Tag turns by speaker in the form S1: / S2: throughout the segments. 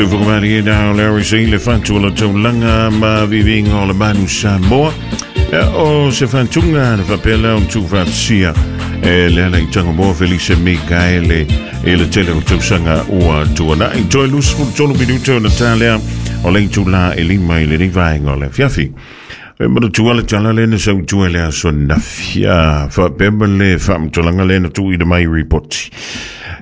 S1: Sofoka na Larry C le fatu o le taulaga ma viviga o le manu Samoa. O se fatuga le faapea lea ona tuufaatasia e le ala i Tagamoa Felise Mikaele i le tele o tausaga ua tuanai. Toe 23 minute ona ta lea o le itulā e 5 i lenei vaega o le afiafi. E manatua le tala lea na sautua i le aso ananafi, faapea ma le faamatalaga lea na tuuina mai i ripoti.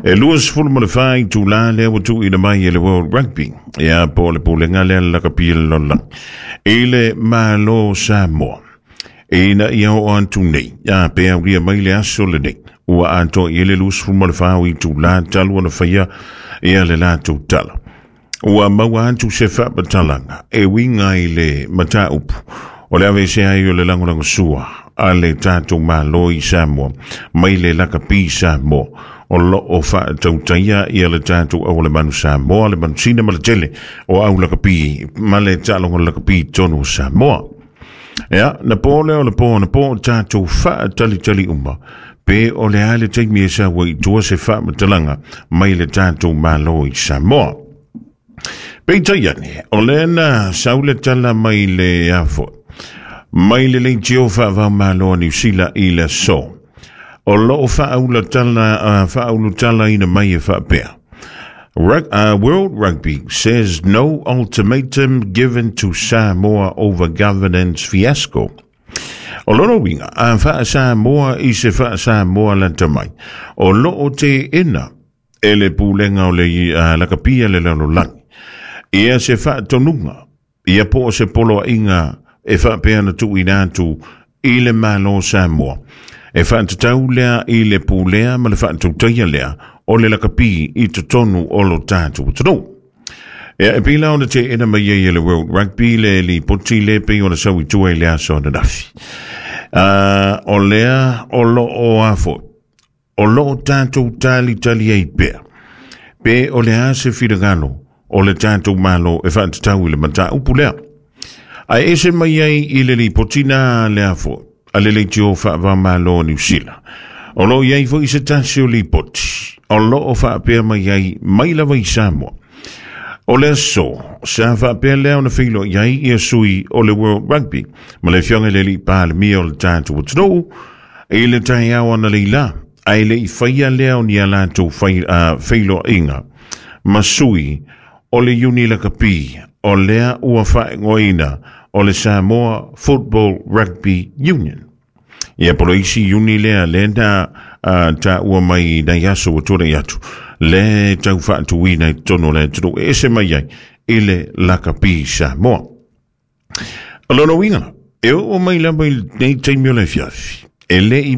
S1: E 24 itulā lea ua tuuina mai e le World Rugby, ia po o le pulega lea le lakapi le lalolagi, i le Malo Samoa. Ina ia oo atu nei, a pe aulia mai le aso lenei, ua atoa i ai le 24 o itulā talu ona faia ia le latou tala. Ua maua atu se faamatalaga e uiga i le mataupu o le aveesea ai o le lagolagosua a le tatou Malo i Samoa mai le lakapi Samoa o lo o faatautaia ia le tatou aualemanu Samoa, le manusina ma le tele o au lakapi ma le taaloga lakapi i totonu o Samoa. Ia, na po lea o le po na po tatou faatalitali uma pe o le a le taimi e sau ai i tua se faamatalaga mai le tatou Malo i Samoa. Peitai ane, o lea na sau le tala mai le afo, mai le leitio faavao Malo a Niu Sila i le aso. O lo o faaulutalaina mai e faapea. World Rugby says no ultimatum given to Samoa over governance fiasco. O lona uiga, a faa-Samoa i se faa-Samoa lata mai, o lo o teena e le pulega o le lakapia le lalolagi ia se faatonuga ia po o se poloaiga e faapea ona tuuina atu i le Malo o Samoa e faatatau lea i le pulea ma le faatautaia lea o le lakapi i totonu o lo tatou atunuu. Ia, e pei la ona teena mai ai e le World Rugby le lipoti le pei ona sau i tua i le aso ananafi. O lea o lo o afo, o lo o tatou talitali ai pea, pe o le a se finagalo o le tatou Malo e faatatau i le mataupu lea. Ae ese mai ai i le lipoti na le afo a le leitio faava-o-Malo o Niu Sila. O lo o i ai foi se tasi o lipoti o lo o faapea mai ai mai lava i Samoa. O le aso, sa faapea lea ona feiloai ai ia sui o le World Rugby ma le afioga i le alii Palemia o le tatou atunuu i le taeao analeila, ae le i faia lea o ni a latou feiloaiga ma sui o le Iuni Lakapi o lea ua faaigoaina o le Samoa Football Rugby Union. Ia po o le isi iuni lea lea na taua mai i nai aso ua tuanai atu, le tau faatuina i totonu o le atunuu e ese mai ai i le lakapi Samoa. O lona uiga, e oo mai lava i lenei taimi o le afiafi, e le i